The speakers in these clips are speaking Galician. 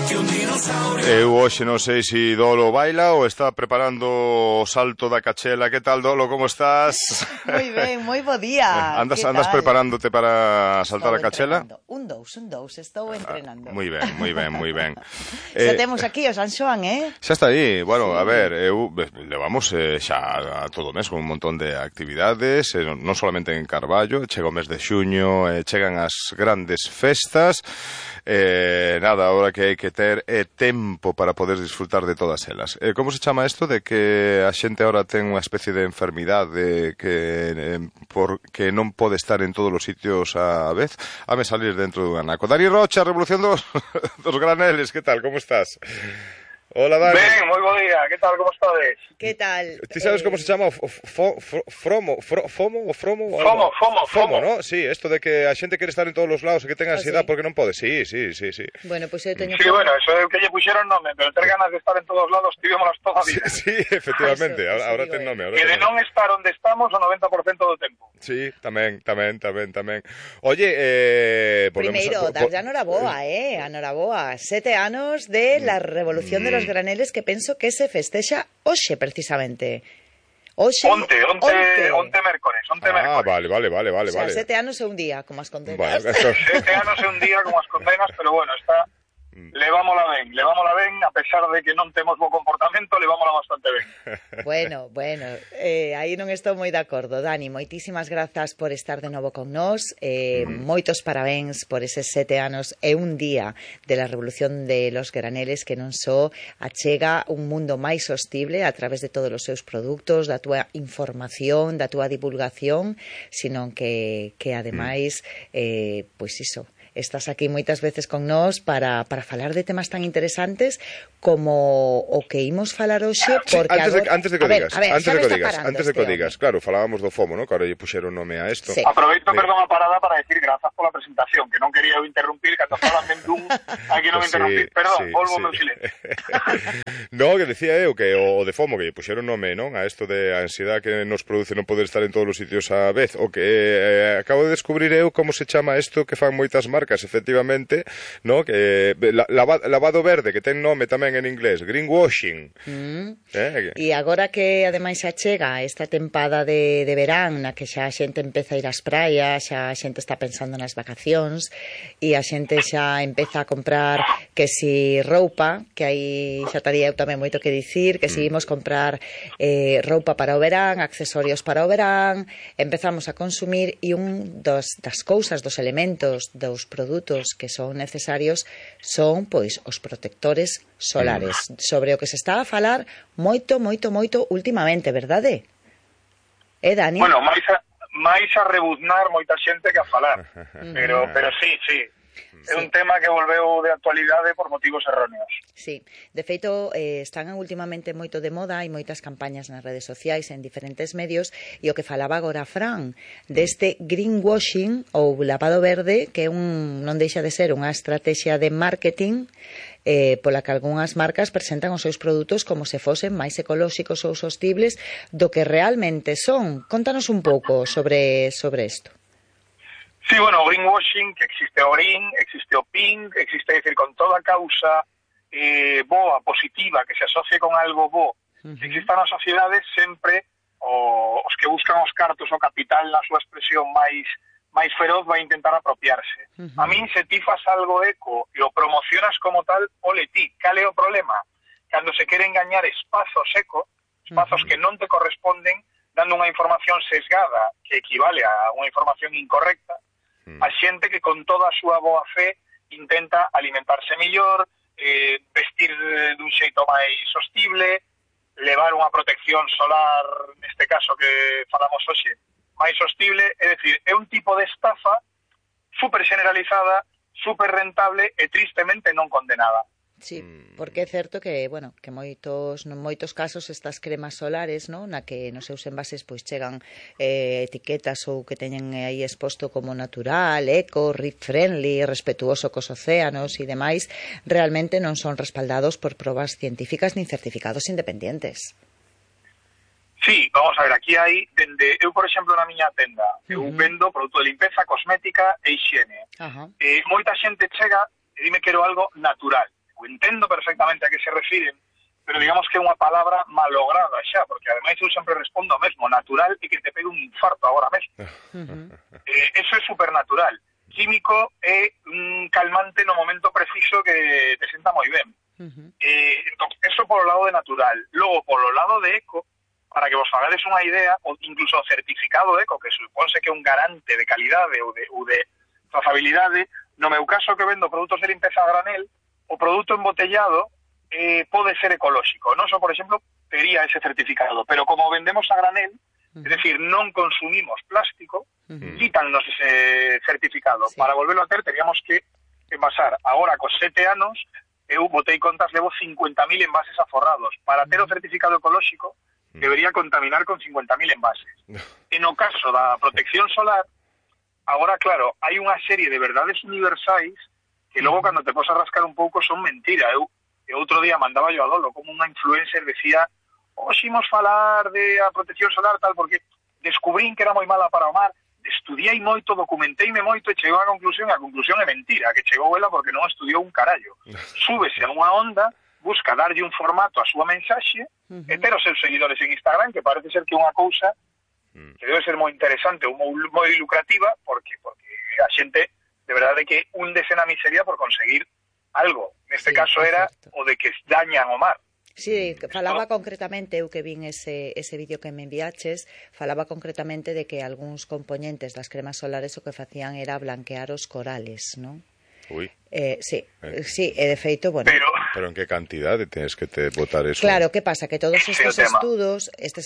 Eu hoxe non sei se Dolo baila ou está preparando o salto da cachela. Que tal, Dolo, como estás? Moi ben, moi bo día. Andas preparándote para saltar a cachela? Un dous, estou entrenando. Moi ben, moi ben, moi ben. Xa temos aquí o San Xoán, Xa está aí. Bueno, sí. A ver, levamos xa a todo o mes con un montón de actividades, non solamente en Carballo, chega o mes de xuño, chegan as grandes festas, nada, ahora que hai que ter tempo para poder disfrutar de todas elas. Como se chama isto de que a xente ahora ten unha especie de enfermidade que non pode estar en todos os sitios á vez? Hame salir dentro dun anaco. Dani Rocha, Revolución dos Graneles, que tal, como estás? Hola, Dani. Ben, moi bo día, que tal, como estades? Que tal? Ti sabes como se chama FOMO, ¿no? Sí, esto de que a xente quere estar en todos os lados e que ten ansiedade porque non pode. Sí. Bueno, pues eu teño... Sí, bueno, eso é que lle puxeron nome, pero ter ganas de estar en todos os lados tivémonos toda a vida. Sí, efectivamente, ahora ten nome. E de non estar onde estamos o 90% do tempo. Sí, tamén. Oye, primeiro, darlle a Noraboa, 7 anos de la revolución de los graneles, que penso que se festexa hoxe, precisamente. Onte mércores. Vale. O sea, 7 anos é un día, como as condenas. Vale, 7 anos é un día, como as condenas, pero bueno, está... Levámola ben, a pesar de que non temos bo comportamento, levámola bastante ben. Bueno, aí non estou moi de acordo. Dani, moitísimas grazas por estar de novo con nós, moitos parabéns por eses 7 anos e un día de la revolución de los graneles, que non só achega un mundo máis sostible a través de todos os seus produtos, da túa información, da túa divulgación, sino que ademais, pois iso, estás aquí moitas veces con nós para falar de temas tan interesantes como o que imos falar hoxe, porque antes de que o digas, claro, falábamos do FOMO, ¿no? Que ahora lle puxeron nome a isto. Sí. Aproveito, perdón, a parada para decir grazas pola presentación, que non quería eu interrumpir, cando falan ben dun, aquí non me interrumpir. Perdón, volvo meu silencio. No, que decía eu que o de FOMO, que lle puxeron nome, non? A isto de ansiedade que nos produce non poder estar en todos os sitios á vez, o que acabo de descubrir eu como se chama isto que fan moitas marcas, efectivamente, no? Que lavado verde, que ten nome tamén en inglés, greenwashing. E agora que ademais xa chega esta tempada de verán, na que xa a xente empeza a ir ás praias, xa a xente está pensando nas vacacións, e a xente xa empeza a comprar que si roupa, que aí xa estaría eu tamén moito que dicir, que si imos comprar roupa para o verán, accesorios para o verán, empezamos a consumir, e das cousas, dos elementos, dos produtos que son necesarios son, pois, os protectores solares, sobre o que se está a falar moito últimamente, verdade? Dani? Bueno, máis a rebuznar moita xente que a falar, pero sí. É un tema que volveu de actualidade por motivos erróneos. Sí, de feito, están últimamente moito de moda, hai moitas campañas nas redes sociais, en diferentes medios, e o que falaba agora Fran, deste greenwashing, ou lavado verde, que non deixa de ser unha estrategia de marketing pola que algunhas marcas presentan os seus produtos como se fosen máis ecolóxicos ou sostibles do que realmente son. Contanos un pouco sobre isto. Sí, bueno, o greenwashing, que existe o green, existe o pink, existe, decir, con toda causa boa, positiva, que se asocie con algo bo, que exista na sociedade sempre os que buscan os cartos o capital na súa expresión máis feroz vai intentar apropiarse. A min, se ti fas algo eco e o promocionas como tal, ole ti, cal é o problema? Cando se queren gañar espazos eco, espazos que non te corresponden, dando unha información sesgada que equivale a unha información incorrecta, a xente que con toda a súa boa fe intenta alimentarse mellor, vestir dun xeito máis sostible, levar unha protección solar, neste caso que falamos hoxe, máis sostible, é dicir, é un tipo de estafa super generalizada, super rentable e tristemente non condenada. Sí, porque é certo que, bueno, que moitos casos estas cremas solares, no, na que nos seus envases pois chegan etiquetas ou que teñen aí exposto como natural, eco, rip friendly, respetuoso cos océanos e demais, realmente non son respaldados por probas científicas nin certificados independientes. Sí, vamos a ver, aquí hai, eu, por exemplo, na miña tenda, eu vendo produto de limpeza, cosmética e higiene. Moita xente chega e dime quero algo natural. eu entendo perfectamente a que se refiren, pero digamos que é unha palabra malograda xa, porque ademais eu sempre respondo o mesmo, natural e que te pegue un infarto agora mesmo. Eso é supernatural. Químico é un calmante no momento preciso que te senta moi ben. Entón, eso polo lado de natural. Logo, polo lado de eco, para que vos fagades unha idea, ou incluso o certificado eco, que suponse que é un garante de calidade ou de trazabilidade, no meu caso que vendo produtos de limpeza a granel, o produto embotellado pode ser ecolóxico. Non só, por exemplo, tería ese certificado, pero como vendemos a granel, es decir, non consumimos plástico, quítannos ese certificado. Sí. Para volverlo a ter, teríamos que pasar. Agora, cos 7 anos, eu botei contas, levo 50.000 envases aforrados. Para ter o certificado ecolóxico, debería contaminar con 50.000 envases. E no caso da protección solar, agora, claro, hai unha serie de verdades universais que logo, cando te posas a rascar un pouco, son mentira. Eu outro día mandaba yo a Dolo, como unha influencer decía, imos falar de a protección solar, tal, porque descubrín que era moi mala para o mar, estudiei moito, documenteime moito e chegou a conclusión é mentira, que chegou ela porque non estudiou un carallo. Súbese a unha onda, busca darlle un formato á súa mensaxe, e ter os seus seguidores en Instagram, que parece ser que é unha cousa que debe ser moi interesante ou moi lucrativa, porque a xente, de verdade, que hundese na miseria por conseguir algo. Neste caso era o de que dañan o mar. Sí, falaba concretamente, eu que vin ese vídeo que me enviaches, falaba concretamente de que algúns componentes das cremas solares o que facían era blanquear os corales, non? Ui. Sí, e de feito, bueno... Pero en que cantidade tens que te botar eso? Claro, que pasa? Que todos estes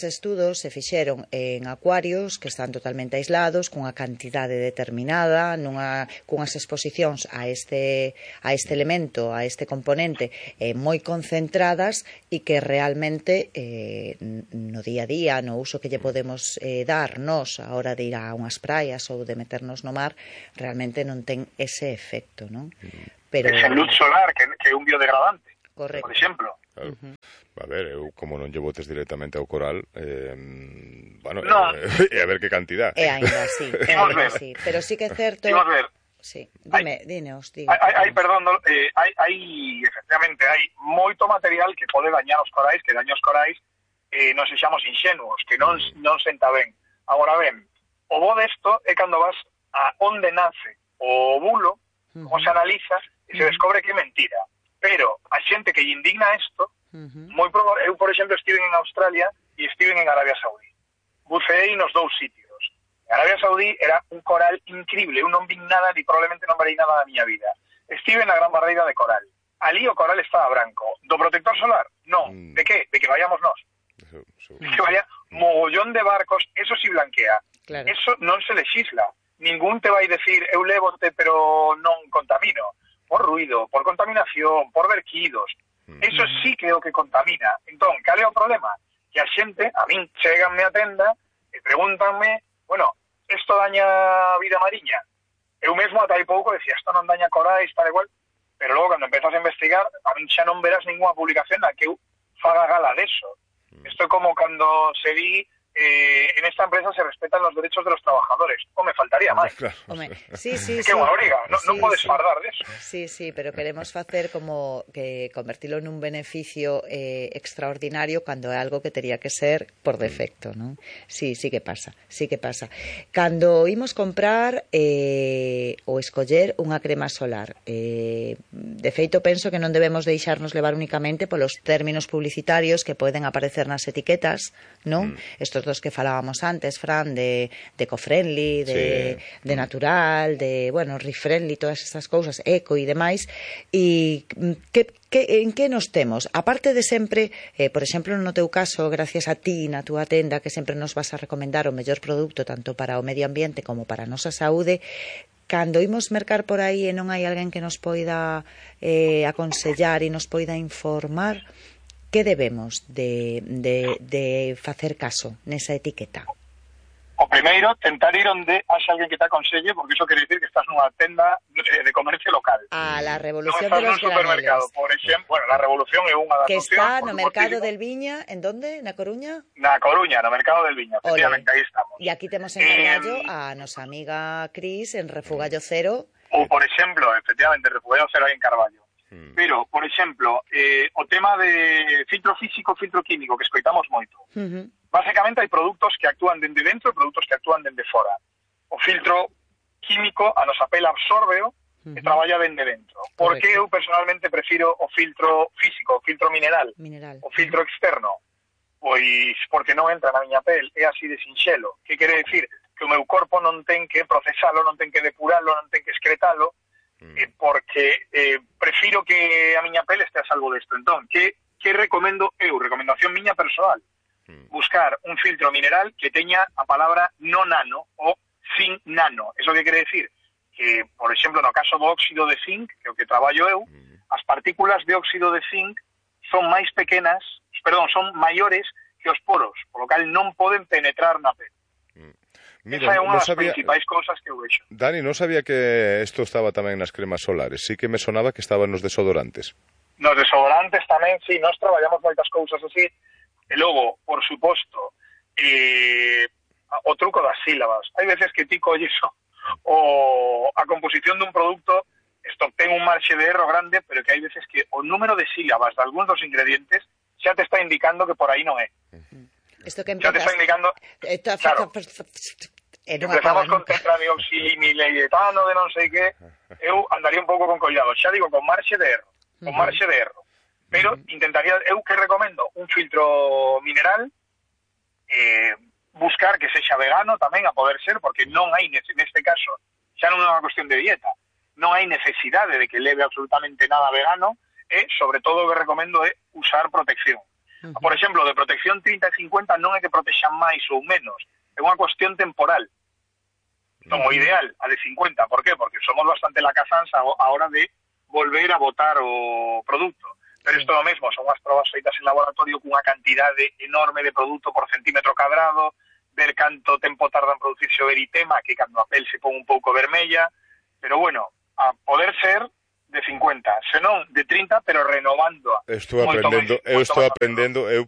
estudos se fixeron en acuarios que están totalmente aislados, cunha cantidade determinada, cunhas exposicións a este elemento, a este componente, moi concentradas e que realmente no día a día, no uso que lle podemos dar nós a hora de ir a unhas praias ou de meternos no mar, realmente non ten ese efecto, non? Pero... Ese luz solar, que é un biodegradante, correcto, por exemplo. Claro. A ver, eu como non lle botes directamente ao coral, bueno, no. A ver que cantidad. Ainda sí, pero sí que é certo... Sí, dineos. Perdón, efectivamente, hai moito material que pode dañar os corais, que daña os corais, non sexamos inxenuos, que non senta ben. Agora ben, o bo desto é cando vas a onde nace o óvulo, como se analiza, e se descobre que é mentira. Pero a xente que lle indigna isto, moi probable, eu, por exemplo, estive en Australia e estive en Arabia Saudí. Buceei nos dous sitios. En Arabia Saudí era un coral increíble, eu non vi nada, ni probablemente non verei nada da miña vida. Estive na Gran Barreira de Coral. Ali o coral estaba branco. Do protector solar? Non. De que? De que vayamos nós. De que vaya mogollón de barcos, eso sí blanquea. Claro. Eso non se legisla. Ningún te vai decir, eu lévote, pero non contamino. Por ruido, por contaminación, por verquidos. Eso sí que é o que contamina. Entón, cal é o problema? Que a xente, a min, cheganme a tenda e pregúntanme, bueno, isto daña a vida mariña? Eu mesmo ata hai pouco decía, isto non daña corais, tal e cual, pero logo, cando empezas a investigar, a min xa non verás ninguna publicación na que eu faga gala deso. Isto é como cando se di en esta empresa se respetan los derechos de los trabajadores. Me faltaría máis. Home, sí. Que unha obriga, non podes fardar deso. Sí, pero queremos facer como que convertilo nun beneficio extraordinario cando é algo que tería que ser por defecto, non? Sí que pasa. Cando imos comprar ou escoller unha crema solar, de feito penso que non debemos deixarnos levar únicamente polos términos publicitarios que poden aparecer nas etiquetas, non? Estos dos que falábamos antes, Fran, de eco-friendly, de natural, de, bueno, re-friendly, todas estas cousas, eco e demais, e en que nos temos? Aparte de sempre, por exemplo, no teu caso, gracias a ti, na túa tenda, que sempre nos vas a recomendar o mellor produto tanto para o medio ambiente como para a nosa saúde, cando imos mercar por aí e non hai alguén que nos poida aconsellar e nos poida informar, que debemos de facer caso nesa etiqueta? O primeiro, tentar ir onde haxa alguén que te aconselle, porque iso quere dicir que estás nunha tenda de comercio local. La revolución de los supermercado, por exemplo, bueno, la revolución é unha das que está no mercado del Viña, en donde? Na Coruña? Na Coruña, no mercado del Viña, efectivamente, aí estamos. E aquí temos en Carballo a nosa amiga Cris en Refugallo Cero. Ou, por exemplo, efectivamente, Refugallo Cero aí en Carballo. pero, por exemplo, o tema de filtro físico, filtro químico, que escoitamos moito. Básicamente hai produtos que actúan dende dentro e produtos que actúan dende fora. O filtro químico, a nosa pele absórbeo e traballa dende dentro. Por que eu personalmente prefiro o filtro físico, o filtro mineral. O filtro externo? Pois porque non entra na miña pel, é así de sinxelo. Que quere decir? Que o meu corpo non ten que procesalo, non ten que depuralo, non ten que excretalo, porque prefiro que a miña pel este a salvo desto. Entón, que recomendo eu? Recomendación miña personal. Buscar un filtro mineral que teña a palabra no nano o sin nano. Eso que quere decir? Que, por exemplo, no caso do óxido de zinc, que é o que traballo eu, as partículas de óxido de zinc son máis pequenas, son maiores que os poros, polo cal non poden penetrar na pel. Mira, esa é unha das principais cousas que eu vexo. Dani, non sabía que isto estaba tamén nas cremas solares, sí que me sonaba que estaba nos desodorantes. Nos desodorantes tamén, sí, nós traballamos moitas cousas así, e logo, por suposto, o truco das sílabas. Hai veces que ti colles a composición dun produto, isto ten un marxe de erro grande, pero que hai veces que o número de sílabas de algúns dos ingredientes xa te está indicando que por aí non é. Isto que xa te está indicando... Claro, empezamos con tetradioxilimiletano de non sei que, eu andaría un pouco con collado, xa digo, con marxe de erro. Pero intentaría, eu que recomendo un filtro mineral, buscar que sexa vegano tamén, a poder ser, porque non hai, neste caso, xa non é unha cuestión de dieta, non hai necesidade de que leve absolutamente nada vegano, e, sobre todo, o que recomendo é usar protección. Por exemplo, de protección 30 e 50 non é que protexan máis ou menos, é unha cuestión temporal. Entón, o ideal, a de 50, por qué? Porque somos bastante lacazans a hora de volver a botar o produto. Pero isto é o mesmo, son as probas feitas en laboratorio cunha cantidade enorme de produto por centímetro cadrado, ver canto tempo tarda en producirse o eritema, que cando a pel se pon un pouco vermella, pero bueno, a poder ser de 50, senón de 30, pero renovándoa. Estou aprendendo,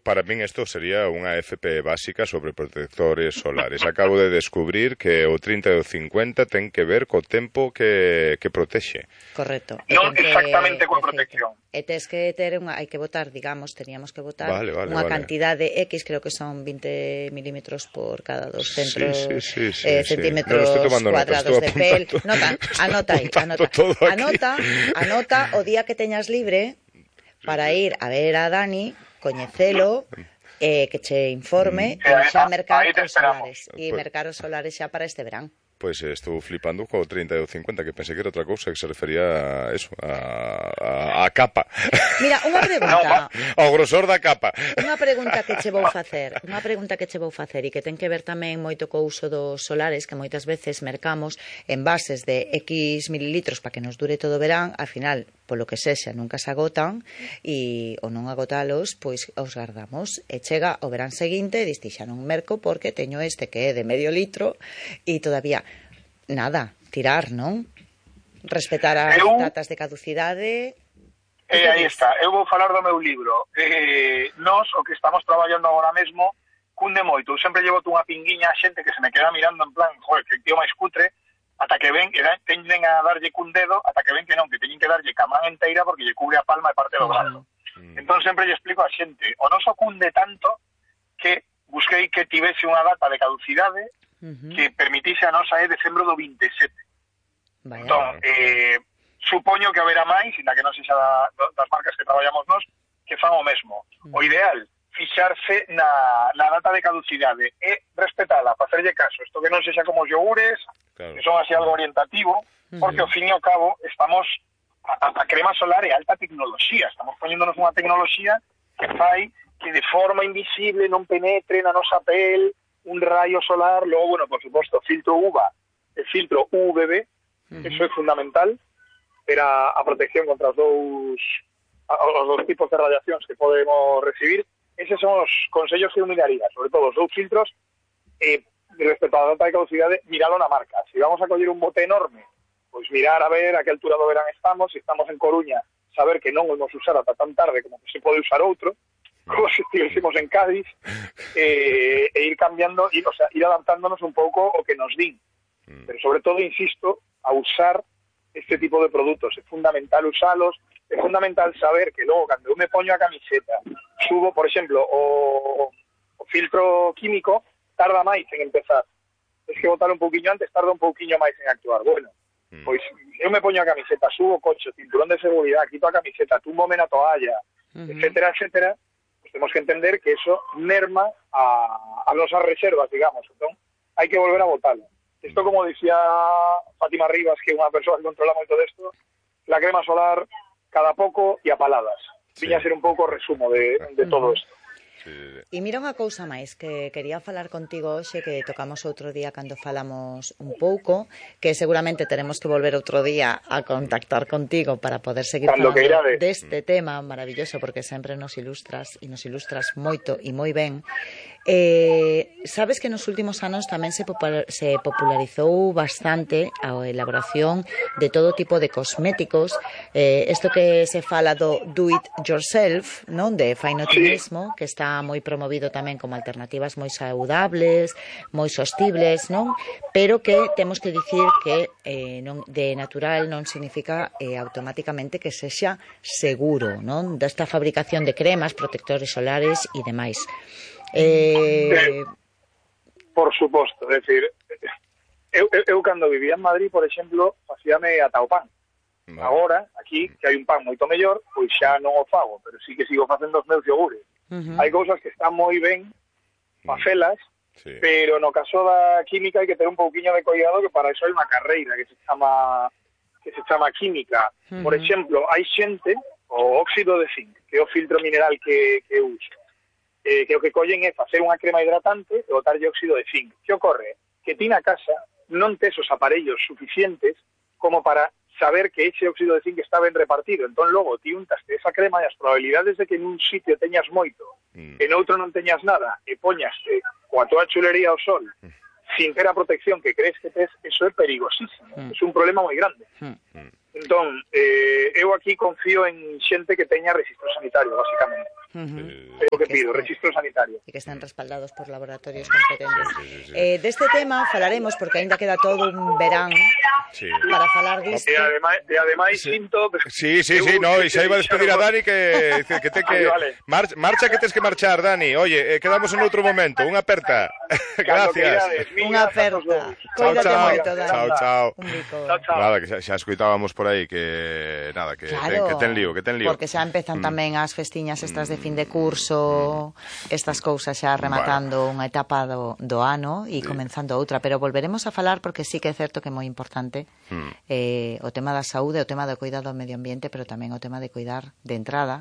para min isto sería unha FP básica sobre protectores solares. Acabo de descubrir que o 30 e o 50 ten que ver co tempo que protexe. Correcto. Non exactamente coa protección. E tes que ter hai que botar, teníamos que botar unha cantidade X, creo que son 20 milímetros por cada 200 centímetros cuadrados de pel. Anota o día que teñas libre para ir a ver a Dani, coñecelo, que che informe e xa mercar os solares. E mercar os solares xa para este verán. Pois estou flipando co 30 e o 50, que pensei que era outra cousa, que se refería a eso, a capa. Mira, unha pregunta. Ao grosor da capa. Unha pregunta que che vou facer e que ten que ver tamén moito co uso dos solares, que moitas veces mercamos envases de X mililitros para que nos dure todo o verán, al final, polo que sexa, nunca se agotan, e ao non agotalos, pois os guardamos. E chega o verán seguinte, diste xa non merco porque teño este que é de medio litro e todavía nada, tirar, non? Respetar as datas de caducidade. Aí está, eu vou falar do meu libro. Nós, o que estamos traballando agora mesmo, cunde moito. Eu sempre llevo unha pinguiña a xente que se me queda mirando en plan, joder, que tío máis cutre, ata que ven, teñen a darlle cun dedo, ata que ven que non, que teñen que darlle ca man enteira porque lle cubre a palma e parte do brazo. Entón sempre lle explico a xente, o noso cunde tanto que busquei que tivese unha data de caducidade que permitise a nosa decembro do 27. Entón, supoño que haberá máis, inda que non sexa das marcas que traballamos nós, que fan o mesmo. O ideal, fixarse na data de caducidade e respetala, facerlle caso. Isto que non sexa como os yogures, que son así algo orientativo, porque ao fin e ao cabo estamos a crema solar é alta tecnoloxía, estamos poñéndonos unha tecnoloxía que fai que de forma invisible non penetre na nosa pel un rayo solar. Logo, bueno, por suposto, filtro UVA e filtro UVB, eso é fundamental para a protección contra os dous tipos de radiacións que podemos recibir. Eses son os consellos que eu miraría, sobre todo os dous filtros, respecto á data de caducidade, miralo na marca. Se vamos a coller un bote enorme, pois mirar a ver a que altura do verán estamos. Se estamos en Coruña, saber que non o vamos usar ata tan tarde como que se pode usar outro, como se estivésemos en Cádiz, e ir cambiando, ir adaptándonos un pouco o que nos din. Pero sobre todo, insisto, a usar este tipo de produtos. É fundamental usalos, é fundamental saber que logo, cando eu me poño a camiseta, subo, por exemplo, o filtro químico, tarda máis en empezar. Tens que botar un pouquiño antes, tarda un pouquiño máis en actuar. Bueno, pois eu me poño a camiseta, subo o coche, cinturón de seguridade, quito a camiseta, túmbome na toalla, etcétera, etcétera, pues temos que entender que eso merma a nosas reservas, digamos. Entón, hai que volver a botarlo. Isto, como dicía Fátima Rivas, que é unha persoa que controla moito desto, la crema solar cada pouco e a paladas. Viña a ser un pouco o resumo de todo isto. E mira unha cousa máis que quería falar contigo hoxe, que tocamos outro día cando falamos un pouco, que seguramente teremos que volver outro día a contactar contigo para poder seguir falando deste tema maravilloso, porque sempre nos ilustras e nos ilustras moito e moi ben. Sabes que nos últimos anos tamén se popularizou bastante a elaboración de todo tipo de cosméticos, isto que se fala do do it yourself, non? De faino ti mesmo, que está moi promovido tamén como alternativas moi saudables, moi sostibles, non? Pero que temos que dicir que de natural non significa automáticamente que sexa seguro, non? Desta fabricación de cremas, protectores solares e demais. Por suposto, é dicir, eu cando vivía en Madrid, por exemplo, facíame ata o pan. Agora, aquí, que hai un pan moito mellor, pois xa non o fago, pero sí que sigo facendo os meus yogures. Hai cousas que están moi ben facelas, pero no caso da química hai que ter un pouquiño de cuidado, que para iso hai unha carreira que se chama química. Por exemplo, hai xente, o óxido de zinc, que é o filtro mineral que uso, que o que collen é facer unha crema hidratante e botarlle óxido de zinc. Que ocorre? Que ti na casa non tes os aparellos suficientes como para saber que ese óxido de zinc está ben repartido. Entón, logo, ti untaste esa crema e as probabilidades de que en un sitio teñas moito, en outro non teñas nada, e poñaste coa toda chulería ao sol, sin ter a protección que crees que tes, eso é perigosísimo. É un problema moi grande. Entón, eu aquí confío en xente que teña registro sanitario, basicamente. É o que pido, registro sanitario. E que están respaldados por laboratorios competentes. Deste tema falaremos, porque aínda queda todo un verán para falar disto. E ademais sinto... Sí, no, e xa iba a despedir a Dani que ten que... Marcha que tens que marchar, Dani. Oye, quedamos en outro momento. Unha aperta. Gracias. Unha aperta. Cuídate moito, Dani. Chao. Un bico. Nada, que xa escoitábamos por aí que nada, que ten lío. Porque xa empezan tamén as festiñas estas de fin de curso, estas cousas xa rematando unha etapa do ano e comenzando outra, pero volveremos a falar porque sí que é certo que é moi importante o tema da saúde, o tema do cuidado ao medio ambiente, pero tamén o tema de cuidar de entrada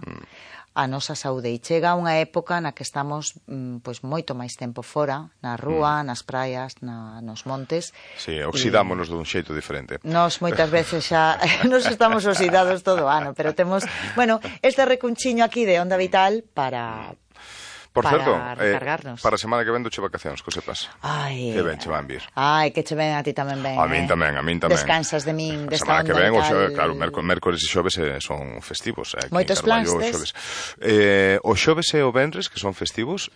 a nosa saúde. E chega unha época na que estamos pois moito máis tempo fora, na rúa, nas praias, nos montes. Sí, oxidámonos dun xeito diferente. Nos moitas veces xa nos estamos oxidados todo o ano, pero temos, bueno, este recunchiño aquí de Onda Vital para certo, recargarnos. Para a semana que ven doche vacacións, que sepas. Ai, que ben che van vir. Ai, que che ven a ti tamén ben. A min tamén. Descansas de min, desta Onda Vital. A semana que ven, claro, mércores e xoves son festivos. Moitos plans tes? O xoves e o venres, que son festivos,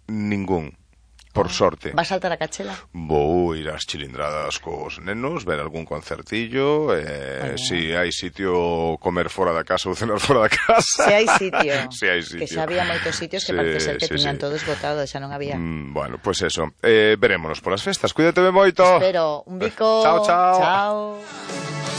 ningún. Por sorte. Vas saltar a Cachela? Vou ir ás chilindradas cos nenos, ver algún concertillo, si hai sitio comer fora da casa ou cenar fora da casa. Se hai sitio. Que xa había moitos sitios que parece ser que tiñan todo esgotado, xa non había. Bueno, pues eso. Verémonos polas festas. Cuídate moito. Espero. Un bico. Chao. Chao.